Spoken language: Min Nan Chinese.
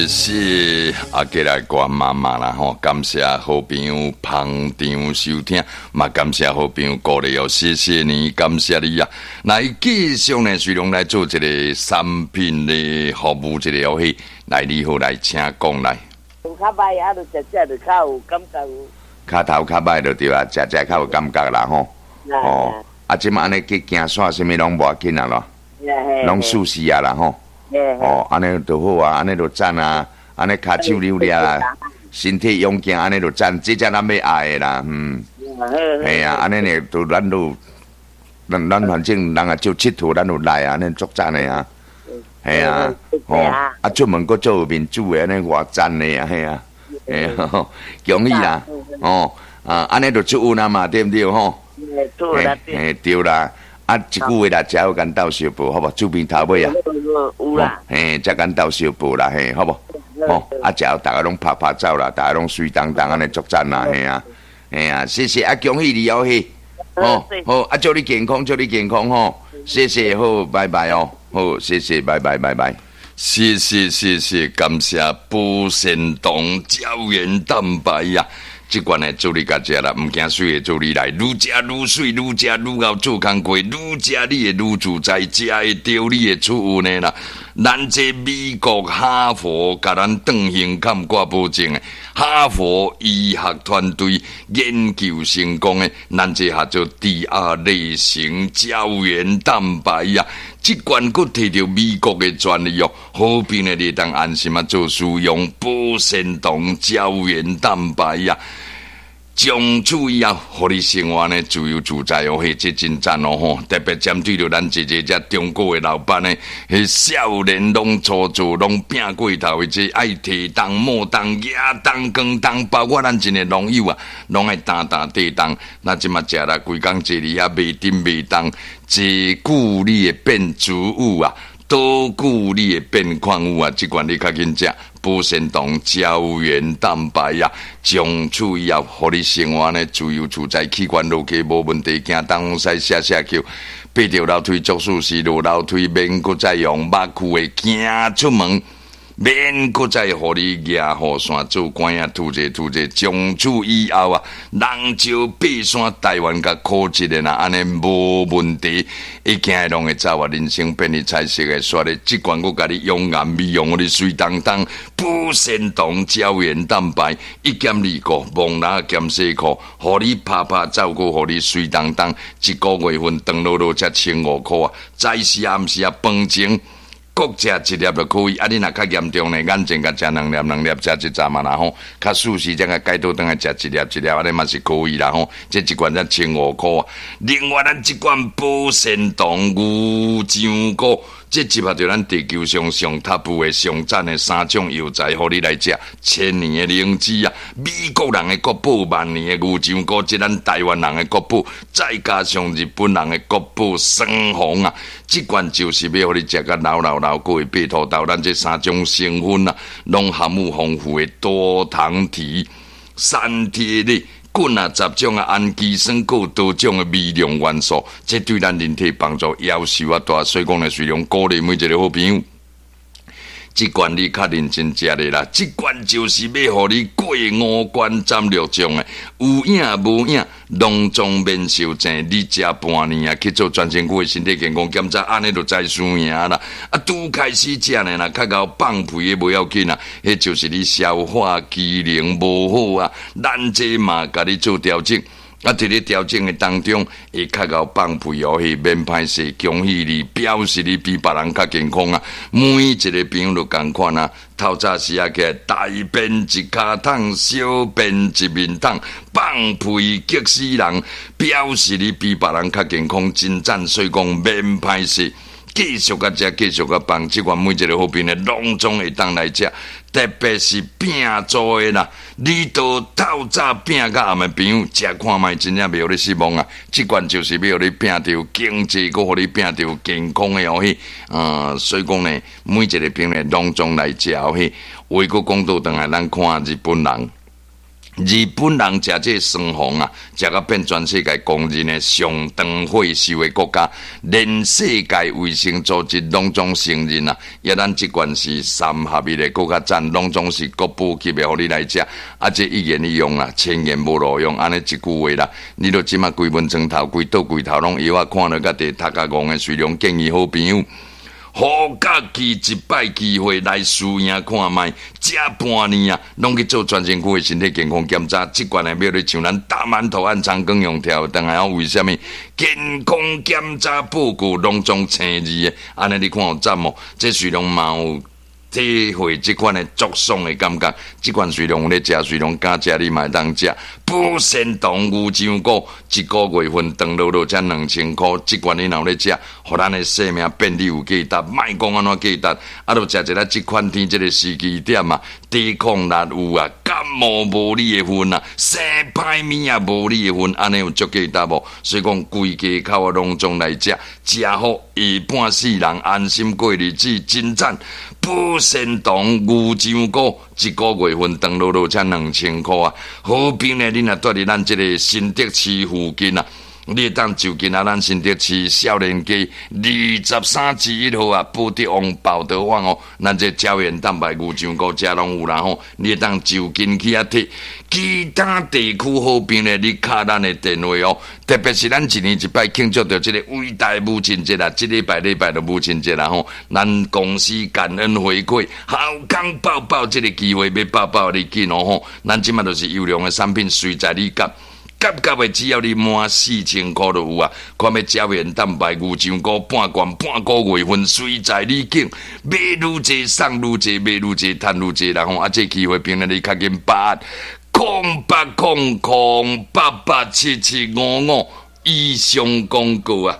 謝阿杰來關媽媽啦吼，感謝好朋友捧場收聽，嘛感謝好朋友鼓勵哦，謝謝你，感謝你啊！來繼續呢，隨龍來做一個產品的服務，一個遊戲，來你好，來請講來。較歹啊，就食食就較有感覺。跤頭較歹就對啊，食食較有感覺啦吼。哦，啊，這馬按呢去行山啥物攏無要緊啊囉，攏舒適啊啦吼。哦，按呢就好啊，按呢就讚啊，按呢跤手扭掠啊，身體勇健，按呢就讚，這才咱欲愛的啦，嗯。嘿啊，按呢呢，就咱都，咱反正人也少𨑨迌，咱有來啊，按呢足讚的啊。嘿啊，哦，啊出門閣做有面子的，按呢偌讚的啊，嘿啊，嘿啊，恭喜啦，哦，啊，按呢就出運啊嘛，對毋對吼？嘿，對啦。啊，一句話啦，食好共鬥相報，好無？厝邊頭尾啊，有啦，嘿，才共鬥相報啦，嘿，好無？吼，啊，食後逐家攏拍拍走啦，逐家攏媠當當按呢足讚啦，嘿啊，嘿啊，謝謝啊，恭喜你哦，嘿，好，好，啊，祝你健康，祝你健康吼，謝謝，好，拜拜哦，好，謝謝，拜拜，拜拜，謝謝，謝謝，感謝保鮮糖膠原蛋白呀。這款的祝你共食啦，毋驚媠的祝你來，愈食愈媠，愈食愈𠢕做工課，愈食你會愈自在，食會著你會出運的啦。咱這美國哈佛共咱斷胸坎掛保證的，哈佛醫學團隊研究成功的，咱這叫做第二類型膠原蛋白啊！這款閣提著美國的專利哦，好朋友你當安心啊做使用保鮮糖膠原蛋白啊！從此以後，予你生活呢自由自在哦，嘿，這真讚哦吼！特別針對著咱一個這中國的老闆呢，彼少年攏粗做，攏拼過頭的，這愛提重、摸重、舉重、扛重，包括咱一個農友啊，攏愛擔擔提重。那這馬食啦，規工坐佇遐袂振袂動，坐久你會變脂脲啊，倒久你會變礦物啊，這款你較緊食。保鮮糖膠原蛋白啊，從此以後，予你生活呢自由自在，氣管落去無問題，行東西寫寫叫，爬著樓梯足舒適，落樓梯免閣再用肉褲的行出門，免閣再予你舉雨傘做官仔吐者吐者，從此以後啊，人少爬山，台灣共苦一個啦，按呢無問題，一行攏會走啊，人生變得彩色的，煞咧，這款閣共你養顏美容，予你媠當當，保鮮糖膠原蛋白一減二顧，摸籃兼洗褲，予你拍拍走閣予你媠當當，一個月份長落落才1500塊啊，早時暗時啊飯前各食一粒就可以，啊！你若較嚴重呢，眼前共食兩粒兩粒，食一陣嘛啦吼。較舒適，才共解倒轉來食一粒一粒，按呢嘛是可以啦吼。這一罐才千五箍啊。另外，咱這罐保鮮糖牛樟菇，這集合著咱地球上上 top 的上讚的三種藥材，予你來食。千年的靈芝啊，美國人的國寶，萬年的牛樟菇，這咱台灣人的國寶，再加上日本人的國寶桑紅啊，這罐就是欲予你食甲老老老，閣會爬塗豆。咱這三種成分啊，攏含有豐富的多糖體、三萜類。棍啊，十種啊，氨基酸，閣有多種的微量元素，這對咱人體幫助夭壽啊大。所以講呢，雖然鼓勵每一個好朋友，這罐你較認真食的啦，這罐就是欲予你過五關斬六將的，有影無影，攏總免受症。你食半年啊，去做全身骨的身體健康檢查，按呢就知輸贏啦。啊，拄開始食呢，若較𠢕放屁的無要緊啊，彼就是你消化機能無好啊，咱這嘛共你做調整。啊，佇咧調整的當中，會較𠢕放屁哦，彼免歹勢，恭喜你，表示你比別人較健康啊。每一個朋友都仝款啊，透早時啊起來，大便一跤桶，小便一面桶，放屁激死人，表示你比別人較健康，真讚，所以講免歹勢。繼續共食，繼續共放，這款每一個好朋友攏總會當來食，特別是拼做的啦。你都透早拼到暗的朋友，食看覓真正袂予你失望啊！這款就是欲予你拼著經濟，閣予你拼著健康的哦彼。所以講呢，每一個朋友攏總來食哦彼。話閣講倒轉來，咱看日本人。日本人食這个酸黃啊，食甲變全世界公認的上長歲壽的國家，連世界衛生組織攏總承認啊！抑咱這款是三合一的，閣較讚，攏總是國寶級的，予你來食。啊，這一言一用啦，千言無路用，按呢一句話啦，你著這馬規門床頭、規桌櫃頭攏藥仔，看落甲佇頭殼戇的，雖然建議好朋友。予家己一擺機會來試驗看覓，食半年啊，攏去做全身軀的身體健康檢查。這款的欲咧像咱大饅頭按長庚用跳轉來哦，為啥物健康檢查報告攏總青字的？按呢你看有讚無？這雖然嘛有體會這款的足爽的感覺，這款雖然有咧食，雖然敢食，你嘛會當食。保鮮糖牛樟菇一個月份長落落才2000箍，這款你若有咧食，予咱的生命變得有價值，莫講按怎價值，啊，著食一下這款天這个時機點啊，抵抗力有啊，感冒無你的份啊，生歹物也無你的份，按呢有足價值無？所以講規家口啊，攏總來食，食好下半世人安心過日子，真讚！保鮮糖牛樟菇一個月份長落落才2000箍啊！好比呢，你若蹛佇咱這个新竹市附近啊，你會當就近啊，咱新竹市少年街23之1號啊，寶德旺寶德旺哦，咱這膠原蛋白牛樟菇遮攏有啦吼，你會當就近去遐提。其他地區好朋友，你敲咱的電話哦，特別是咱一年一擺慶祝著這个偉大母親節啦，這禮拜禮拜就母親節啦吼，咱公司感恩回饋，好康報報這个機會欲報報你緊哦吼，咱這馬就是優良的產品，隨在你夾。夾夾的，只要你滿4000箍就有啊！看欲膠原蛋白牛樟菇半罐半個月份，隨在你揀，買愈濟送愈濟，買愈濟趁愈濟，然後啊，這機會朋友你較緊把握，0800 887755以上廣告啊！